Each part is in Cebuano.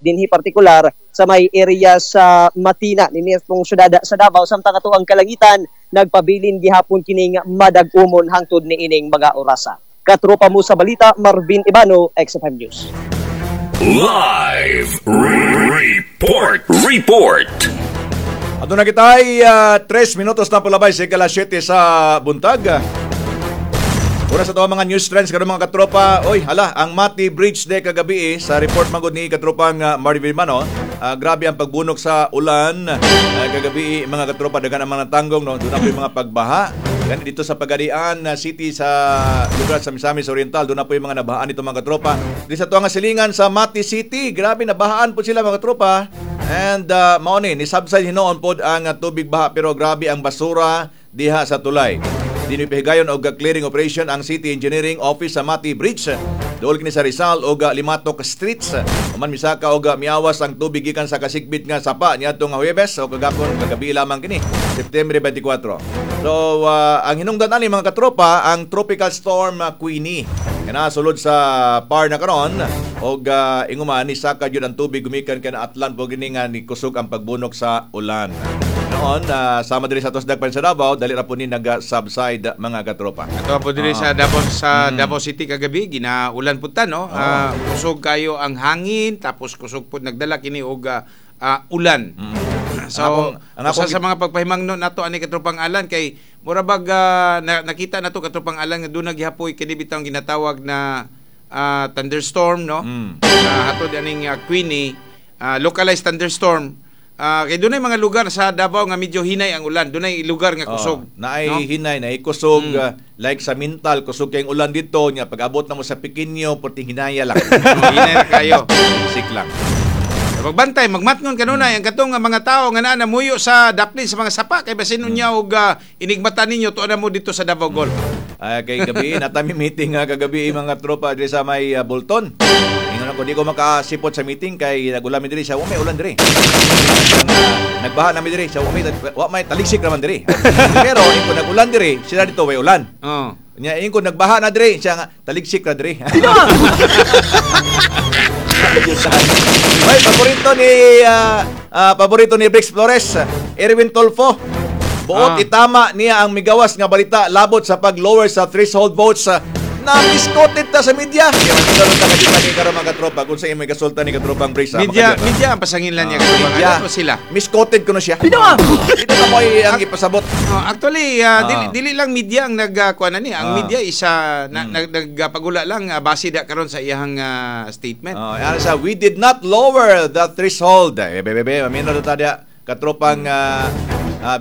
Dinhi partikular sa may area sa Matina ni syudad sa Davao, samtang ato ang kalangitan nagpabilin gihapon kining madag-umon hangtod niining mga orasa. Katropa mo sa balita, Marvin Ibano, XFM News. Live Report. Report. Ato na kita ay 3 minutos na palabay sa ikalas 7 sa buntag. Una sa to mga news trends karon, mga katropa, oy hala, ang Mati Bridge de kagabi eh, sa report magod ni katropang Marvin Mano, grabe ang pagbunok sa ulan kagabi, mga katropa, daghan ang mga tanggong, no, doon na po yung mga pagbaha. Gani dito sa Pagadian City sa lugar sa Misamis Oriental, doon na po yung mga nabahaan nito, mga katropa. Di sa tuwang silingan sa Mati City, grabe nabahaan po sila, mga katropa. And mao ni ni subside hinuon pod ang tubig baha, pero grabe ang basura diha sa tulay. Dinipihigayon og clearing operation ang City Engineering Office sa Mati Bridge. Dool kini sa Rizal og Limatok Streets. Human misaka og miawas ang tubig gikan sa kasigbit nga sapa niadtong nga Huwebes o kagapon, kagabi lamang kini, September 24. So ang hinungdan ani, mga katropa, ang tropical storm Queenie. Kana sulod sa PAR na karon og inguman ni saka gyud ang tubig gumikan kay Atlan po gini nga ni kusog ang pagbunok sa ulan. Noon, sama diri sa atos dagpan sa Davao, dali ra po ni nag-subside, mga katropa. Ato po diri sa Davao City kagabi ginaulan pud ta, no. Kusog kayo ang hangin, tapos kusog pud nagdala kini og ulan. So, Ang akong usa sa mga pagpahimangno nato ani, katropang Alan, kay mura bag nakita nato, katropang Alan, nga duna gihapoy kini bitawng ginatawag na thunderstorm, no. Hatod aning Queenie, localized thunderstorm. Kay dunay mga lugar sa Davao nga medyo hinay ang ulan. Dunay lugar nga kusog. Oh, naay no? Hinay, naay kusog, like sa Mintal, kusog kayong ulan dito nya pag abot na mo sa Piquinho, perting hinaya lang. Oh, hinay ra kayo. Sik lang. Magbantay, magmatngon kanunay ang katong nga mga tao nga naa namuyo sa daplin sa mga sapa kay basin unya og inigmata ninyo tuo na mo dito sa Davao Gulf. Ay, kay gabi, natami meeting nga kagabi, mga tropa, diri sa may Bolton. Ingon ako, di ko makasipot sa meeting kay nagulan mi diri siya, wa may ulan diri. Ang, nagbaha nami diri siya, wa may taligsik naman diri. Pero ingko nagulan diri, sila dito way ulan. Oh. Nya ingko nagbaha na diri, siya nga taligsik na diri. Ay, paborito ni Brix Flores, Erwin Tolfo. Buot itama niya ang migawas nga balita labot sa pag-lower sa threshold votes na misquoted ta sa media. Kaya makita ta kadita ni karon, mga katropa, kung sa imo gasulta ni katropang Brix. Media makadya. Media ang pasanginlan niya, katropang Media. Alan, o sila. Misquoted kuno siya. Dito na mo ang ipasabot. Oh, actually, dili, dili lang media ang nagkuan ni. Ang media isa na, nagpagula lang base da karon sa iyang statement. Oh, yan sa "We did not lower the threshold." Eh, bebe, mamino na ta diya katropang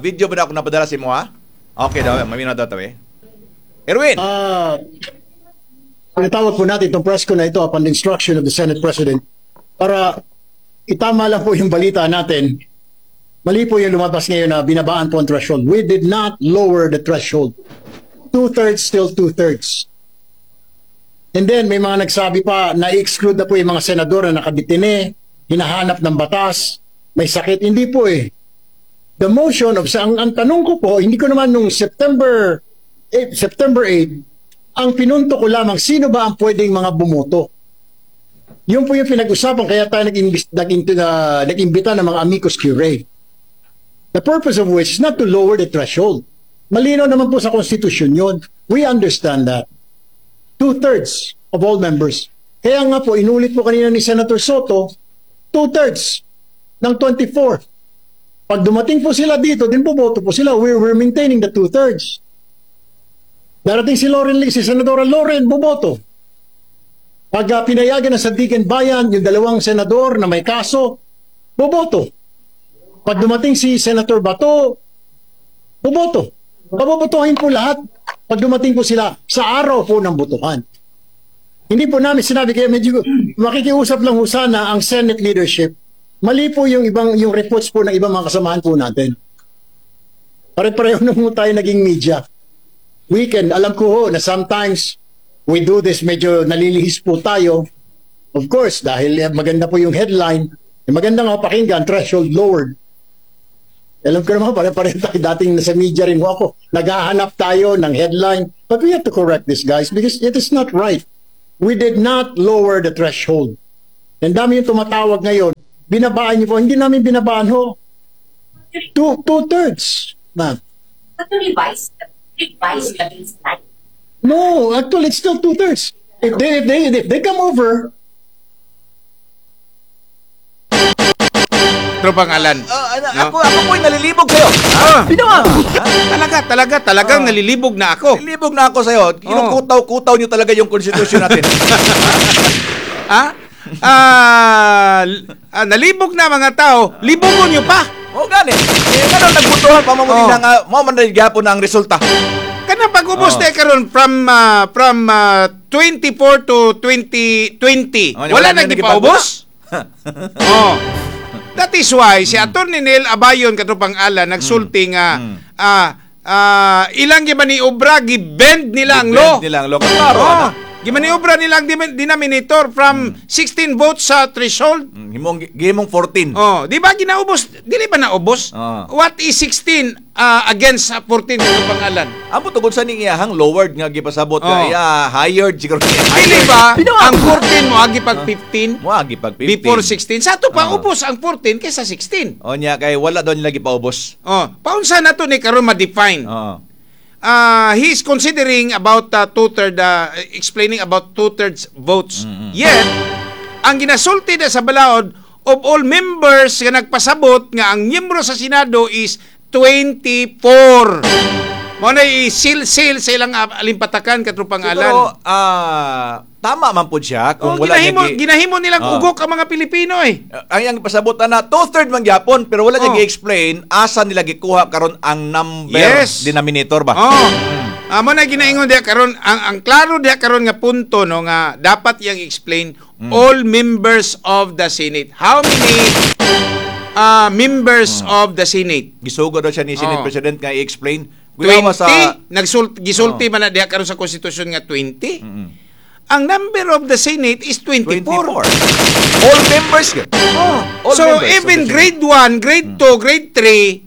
video ba na ako napadala si mo, ha? Okay daw, mamino daw tabi. Erwin. Pinatawag po natin itong press con na ito upon the instruction of the Senate President para itama lang po yung balita natin. Mali po yung lumabas ngayon na binabaan po ang threshold. We did not lower the threshold. Two-thirds still two-thirds. And then may mga nagsabi pa na i-exclude na po yung mga senador na nakadetine, hinahanap ng batas, may sakit. Hindi po eh. The motion of, ang tanong ko po, hindi ko naman nung September 8, ang pinunto ko lamang, sino ba ang pwedeng mga bumoto? Yun po yung pinag-usapan, kaya tayo nag-imbita ng mga amicus curiae. The purpose of which is not to lower the threshold. Malinaw naman po sa konstitusyon yun. We understand that. Two-thirds of all members. Kaya nga po, inulit po kanina ni Senator Sotto, two-thirds ng 24. Pag dumating po sila dito, din boboto po sila. We're maintaining the two-thirds. Darating si Loren Lee, si Senadora Loren, boboto. Pag pinayagan ng Sandiganbayan, yung dalawang senador na may kaso, boboto. Pag dumating si Senator Bato, boboto. Pabobotohin po lahat pag dumating po sila sa araw po ng botohan. Hindi po namin sinabi, kaya medyo makikiusap lang ho sana ang Senate leadership. Mali po yung reports po ng ibang mga kasamahan po natin. Pare-pareho na po tayo naging media. We can, alam ko ho na sometimes we do this, medyo nalilihis po tayo. Of course, dahil maganda po yung headline, maganda nga pakinggan, "Threshold lowered." Alam ko naman, pare-pareho tayo dating nasa media rin ho ako. Naghahanap tayo ng headline. But we have to correct this, guys, because it is not right. We did not lower the threshold. Ang dami yung tumatawag ngayon. Binabaan niyo po. Hindi namin binabaan ho. Two-thirds, ma'am. But to revise the baseline. No, actually, it's still two-thirds. If they come over, Tropang Alan. Ah, ano, No? Ako po'y nalilibog sa'yo. Ah, talaga, talaga, talagang nalilibog na ako. Nalilibog na ako sa'yo. Kinukutaw-kutaw niyo talaga yung konstitusyon natin. Ha? Ah, nalibog na mga tao, libogon nyo pa. O gani. Eh, ngano nagbutuhan pa mo nila nga mao man gyapon na ang resulta. Kanang pag-ubos na karon from 24 to 2020. Oh, Wala wala na na gipaubos. Oh. That is why si Attorney Neil Abayon, katropang Alan, nagsulti nga ilang gimaniobra, gibend nila ang law. Gibend nila ang law. Klaro, Oh, ano? gimaniobra nila ang denominator from 16 votes sa threshold. Himong gihimong 14. Oh, di ba ginaubos? Dili ba naubos? What is 16 against 14, katropang Alan? Amo tungkol sa ning iyahang lowered nga gipasabot nga iya hired siguro. Dili ba ang 14 mo agi pag 15 Mo agi pag 15. before 16? Sa ato pa ubos ang 14 kaysa 16. O niya kay wala daw nila gipaubos. Oh, paunsa na to ni karon ma-define? He is considering about two-third, explaining about two-thirds votes. Yet, ang ginasulti na sa balaod of all members nga nagpasabot nga ang miyembro sa Senado is 24. Mo na i-seal-seal sa ilang alimpatakan, katropang Siguro Alan. Tama man pud siya kung Oh, wala niya ginahimo, ginahimo nilang ugok ang mga Pilipino eh. Ang iyang pasabot na two-third man gyapon pero wala niya gi-explain asa nila gikuha karon ang number denominator ba. Oh. Amo na ginaingon diha karon ang klaro diha karon nga punto, no, nga dapat iyang explain all members of the Senate. How many members of the Senate? Gisugo daw siya ni Senate President nga i-explain. 20 Kuyawa sa nagsulti gisulti man na diha karon sa konstitusyon nga 20. Ang number of the Senate is 24. 24. All members gyud. Oh. All So members of even the Senate. grade 1, grade 2, grade 3,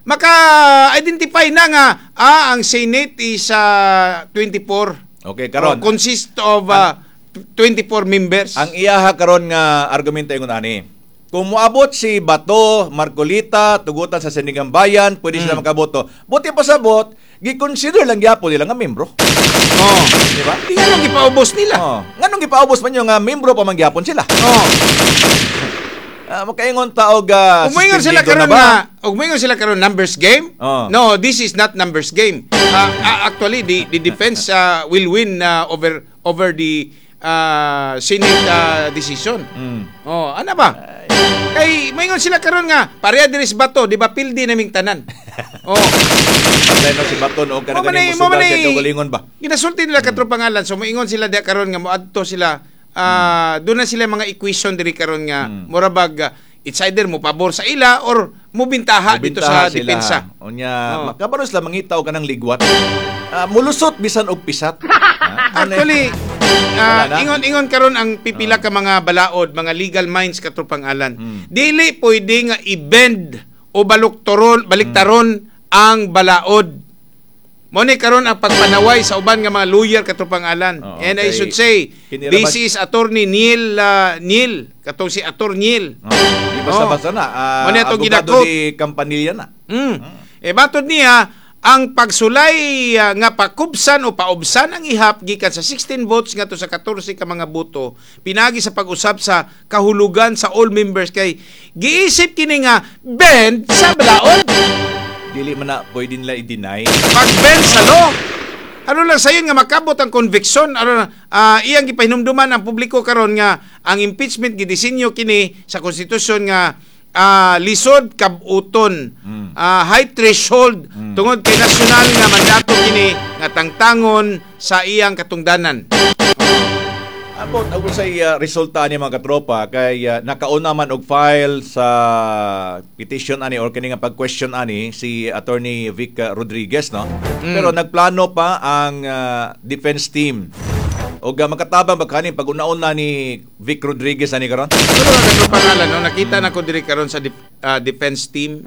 maka-identify na nga ang Senate is 24. Okay, karon. Oh, consist of 24 members. Ang iyaha karon nga argumento ingon ani. Kung moabot si Bato, Marcolita, tugutan sa Sandigan Bayan, pwede sila makaboto. Buti pasabot, gi-consider lang gyapon nila nga membro. Di ba? Di nga nung gipaubos nila. Oh. Nganong gipaubos man yung nga membro pa man gyapon sila? Oh. Makaingon ta og Umingon sila suspendido karon na ba? na umingon sila karon numbers game. No, this is not numbers game. Actually the defense will win over over the Senate decision. Oh, ano ba? Kay moingon sila karon nga pareha diri sa Bato, di ba pildi naming tanan. Oh. Patay no si Bato no Mo og kana man ganing mo musugal man siya kaugalingon ba? Ginasulti nila katro pangalan. So moingon sila diha karon nga moadto sila, doon na sila mga equation diri karon nga mura bag it's either mo pabor sa ila or mo bintaha dito Mubintaha sa sila. depensa. Unya, Oh. makabalo sila mangita og kanang ligwat. Mulusot bisan og pisat. Ano Actually, Wala na? ingon-ingon karon ang pipila ka mga balaod, mga legal minds, katropang Alan. Dili pwede nga i-bend o baluktoron, baliktaron ang balaod. Mo ni karon ang pagpanaway sa uban nga mga lawyer, katropang Alan. Oo, And I kay should say, kinirabas- this is Attorney Neil Neil, katong si Attorney Neil. Oh, di basta-basta na. Mo ni atong abogado ginakot. di Campanilla na. Eh batod niya ang pagsulay nga pakubsan o paubsan ang ihap gikan sa 16 votes ngadto sa 14 ka mga boto pinagi sa pag-usab sa kahulugan sa all members kay giisip kini nga bend sa balaod. Dili man na pwede nila i-deny. Pag-bend sa law. Ano lang sayon nga makabot ang conviction, ano iyang gipahinumduman ang publiko karon nga ang impeachment gidisenyo kini sa konstitusyon nga lisod kabuton, high threshold tungod kay nasyonal nga mandato kini nga tangtangon sa iyang katungdanan. About ako sa resulta ani mga katropa kay nakauna man og file sa petition ani or kini nga pag-question ani si Attorney Vic Rodriguez, no. Pero nagplano pa ang defense team. Og makatabang ba kani pag una-una ni Vic Rodriguez ani karon? Pero mga katropa, no, nakita na ko diri karon sa defense team.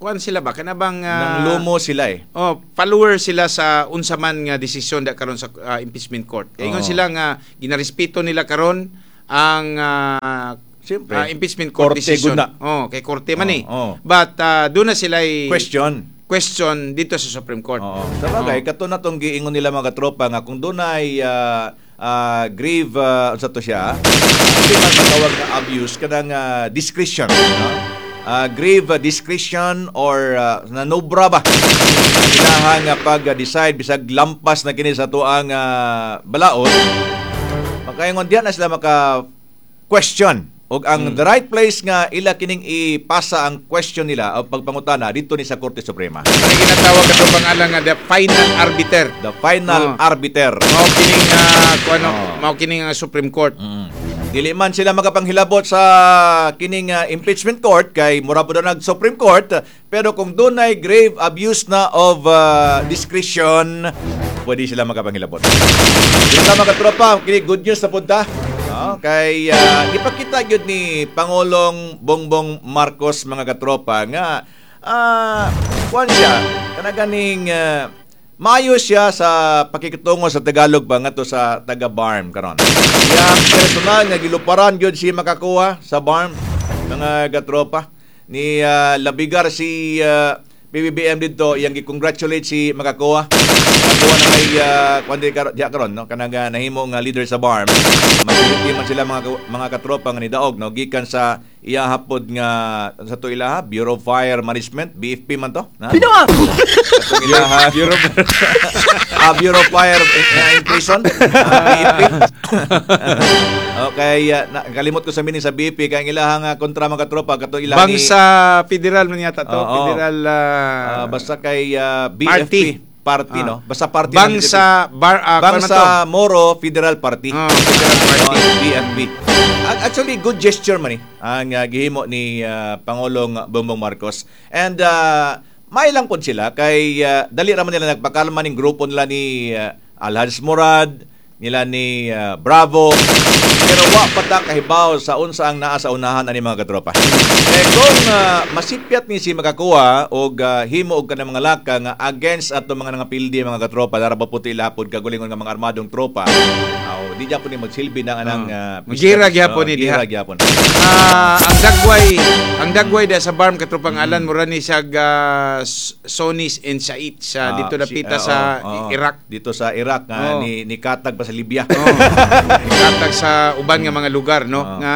Kuan sila ba kana bang Nang lumo sila eh. Oh, follower sila sa unsa man nga desisyon da karon sa impeachment court. Kay ingon sila nga ginarespeto nila karon ang Siyempre. Impeachment court Korte decision. gud na. Oh, kay korte man eh. Oo, oo. But doon na sila Question. Question dito sa Supreme Court. Oo. Sa bagay, kato na tong giingon nila, mga katropa, nga kung dunay grave unsa to siya? Hindi man matawag na abuse, kanang discretion, no? Grave discretion or nanobra ba? Ilahang pag-decide bisag lampas na kini sa tuang balaod, makaingon diyan na sila maka question og ang the right place nga ila kining ipasa ang question nila o pagpangutana dito ni sa Korte Suprema. Ano ginatawag ato pangalan nga the final arbiter. The final arbiter. Mao kining kuano, mao kining Supreme Court. Dili man sila makapanghilabot sa kining impeachment court kay mura po daw nag Supreme Court, pero kung dunay grave abuse na of discretion, pwede sila makapanghilabot. Dito mga katropa, kini good news na punta. No, kay ipakita gyud ni Pangulong Bongbong Marcos, mga katropa, nga kuan siya kana ganing maayo siya sa pakikitungo sa Tagalog ba ngadto sa taga BARMM karon. Yang personal nga giluparan gyud si makakuha sa BARMM, mga katropa, ni labigar si PBBM dito, iyang gi-congratulate si makakuha. Makakuha na may kuan di diya karon, no, kanang nahimo nga leader sa BARMM. Majority man sila, mga katropa, nga nidaog, no, gikan sa iya hapod nga sa to ilaha Bureau of Fire Management, BFP man to na? Katong ilaha Bureau of Fire in Prison, BFP. Okay, kalimot ko sa meaning sa BFP kay ang ilahang kontra, mga katropa, katong ilaha ni Bangsa federal man yata to, Oo. Federal Basta kay BFP Party. Party, no, basta party ng Bangsa bar kuan man to? Bangsa Moro Federal Party. Oh, Federal Party. Oh, BFP. Actually, good gesture man eh ang gihimo ni Pangulong Bongbong Marcos. And may lang pod sila kay dali ra man nila nagpakalma ning grupo nila ni Alhaj Murad, nila ni Bravo. Pero wa pa ta kahibaw sa unsa ang naa sa unahan ani, mga katropa. Kay kung masipyat ni si makakuha og himo og kanang mga laka nga against ato mga nangapildi, mga katropa, dara pa puti lapod kagulingon nga mga armadong tropa. Aw, di gyapon ni magsilbi ng anang Gira gyapon ni diha. Gira gyapon. Ang dagway da sa BARMM, katropang Alan, mura ni siya Sunnis and Shiite sa dito dapita sa oo, oo. Iraq. Dito sa Iraq nga ni katag pa sa Libya. Oh. Katag sa uban nga mga lugar, no, nga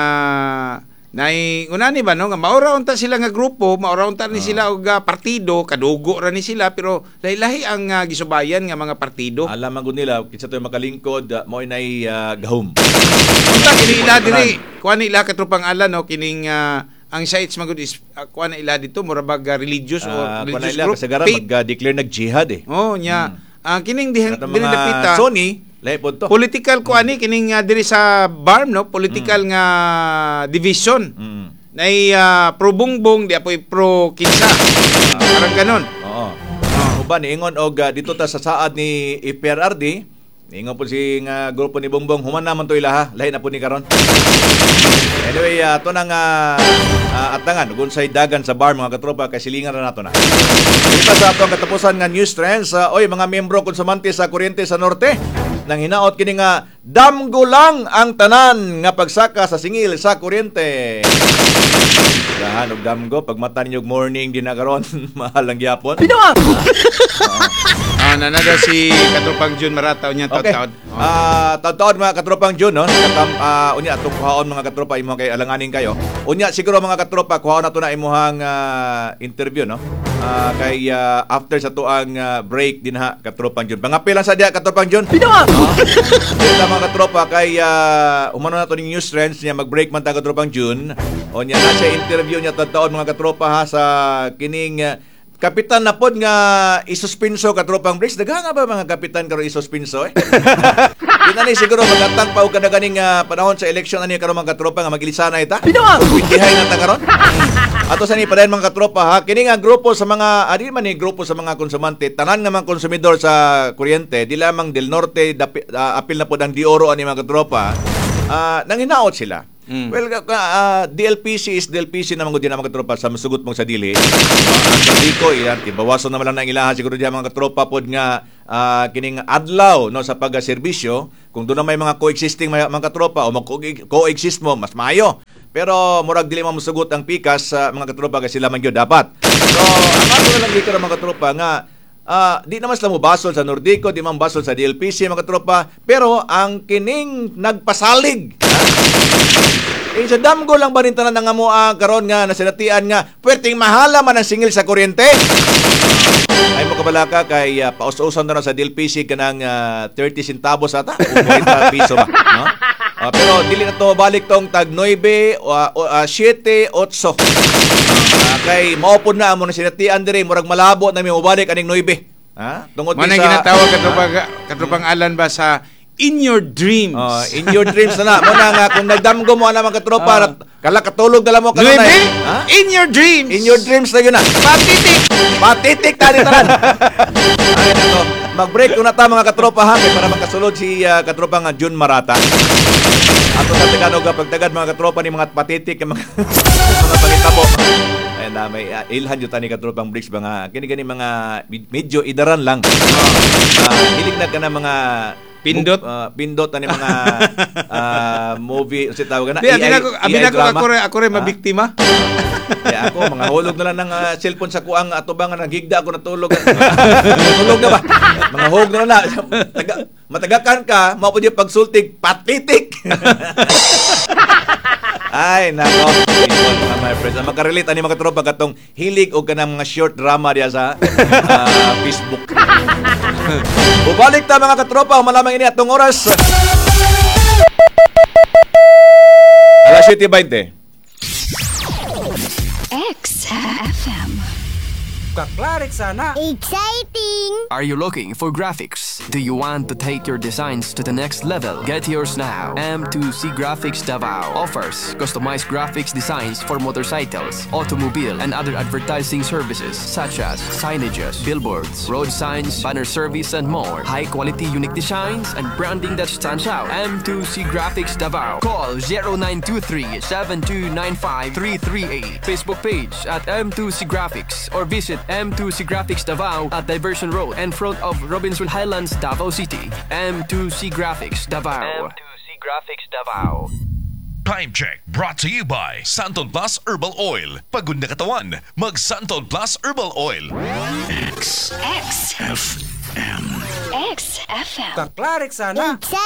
nay unani ba, no, nga maura unta sila nga grupo, maura unta ni sila og partido, kadugo ra ni sila, pero lahi-lahi ang gisubayan nga mga partido. Alam man gud nila kinsa to'y makalingkod, mao nay gahom. Unta kini ila diri, kuan ni ila, katropang Alan, no, kining ang Shiites man gud is kuan na ila dito, mura bag religious or Kuan na religious ila group. kasagaran Faith. mag-declare nag jihad eh. Oh, nya. Ang kining dihan Katong diri mga dapita Sunni, lahi pod to. Political ko ani kining diri sa BARMM, no, political nga division. Nay pro Bongbong, di apoy pro kinsa. Parang ganon. Oo. Uban niingon og dito ta sa saad ni FPRRD, niingon po si nga grupo ni Bongbong, human naman to ilaha, lahi na po ni karon. Anyway, ato nang atangan ug unsay dagan sa BARMM, mga katropa, kay silingan ra nato na. Dito sa atong katapusan nga news trends, oy, mga miyembro konsumante sa kuryente sa norte nang hinaot kini nga damgo lang ang tanan nga pagsaka sa singil sa kuryente. Dahan og damgo pagmata ninyo og morning din na karon, mahal lang gyapon. Nanada si Katropang June Marataw niya taud-taud. Oh. Taud-taud, mga katropang June, no? Katam, unya atong kuhaon, mga katropa, imong kay alanganin kayo. Unya siguro, mga katropa, kuhaon nato na imuhang interview, no? Kay after sa tuang break din ha, katropang June. Pangapil lang sa diya, katropang June. Pinawa. Dito mga katropa kay umano na to ning news trends niya, mag-break man ta, katropang June. O niya na siya interview niya taud mga katropa ha, sa kining kapitan na pod nga isuspinso, katropang Briggs. Daghan nga ba mga kapitan karon isuspinso eh? Di na ni siguro magatang pa og kada ganing panahon sa eleksyon ani karon, mga katropa, nga magilisanay ta. Pinawa. Pindihay na ta karon. Ato sa ni padayon, mga katropa ha. Kini nga grupo sa mga adi man ni grupo sa mga konsumante, tanan nga mga konsumidor sa kuryente, di lamang del Norte, apil na pod ang de Oro ani, mga katropa. Nang hinaot sila. Well, DLPC is DLPC naman gud din ang mga katropa sa masugot mong sa dili. Ang diko iyan, ibawason naman lang ng ilaha siguro diya, mga katropa pod nga kining adlaw, no, sa pagserbisyo. Kung doon na may mga coexisting mga katropa o mag-coexist mo, mas maayo. Pero murag dili man mosugot ang pikas sa mga katropa kasi sila man gyud dapat. So ang ato na lang dito mga katropa nga di naman sila mobasol sa Nordico, di man basol sa DLPC mga katropa, pero ang kining nagpasalig sa damgo lang ba rin tanan nga mo karon nga nasinatian nga puwerteng mahala man ang singil sa kuryente. Ay mo kabalaka kay paus-usan na sa DLPC kanang 30 centavos ata o 40 piso ba, no? Pero dili na to balik tong tag 9 7 8. Kay maupod na amo na sinatian dire murag malabo na mi mobalik aning 9. Ha? Tungod sa ginatawag katropang Alan ba sa in your dreams. In your dreams na na. Mo na nga kung nagdamgo mo ana mga katropa, kala katulog dala mo kanunay. Ha? In your dreams. In your dreams na yun na. Patitik. Patitik tani tanan. Ay nako. Mag-break una ta mga katropa ha kay para makasulod si katropa nga June Marata. Ato sa Tagalog pagtagad mga katropa ni mga patitik mga mga pangitabo. Ay na may ilhan jud tani katropang breaks ba nga kini gani mga medyo idaran lang. Hilig na ka na mga pindot pindot ani mga movie unsay tawag na AI, abi nako ako re mabiktima. Ya ako mga hulog na lang ng cellphone sa kuang atubang nga naghigda ako natulog. Natulog na ba? Mga hulog na lang na. Matagakan ka, mao pud yung pagsultig patitik. Ay nako, mga my friends. Makarelate ani mga tropa katong hilig og kanang mga short drama diya sa Facebook. Bubalik ta mga katropa, malamang ini atong oras. Alas 7:20. XFM. Kaklarik sana. Exciting! Are you looking for graphics? Do you want to take your designs to the next level? Get yours now. M2C Graphics Davao offers customized graphics designs for motorcycles, automobile, and other advertising services such as signages, billboards, road signs, banner service, and more. High quality, unique designs and branding that stands out. M2C Graphics Davao. Call 0923-7295-338. Facebook page at M2C Graphics or visit M2C Graphics Davao at Diversion Road in front of Robinson Highlands, Davao City. M2C Graphics Davao. M2C Graphics Davao. Time check brought to you by Santon Plus Herbal Oil. Pagod na katawan, mag Santon Plus Herbal Oil. X X F M X FM. Kaklarik sana. Exciting!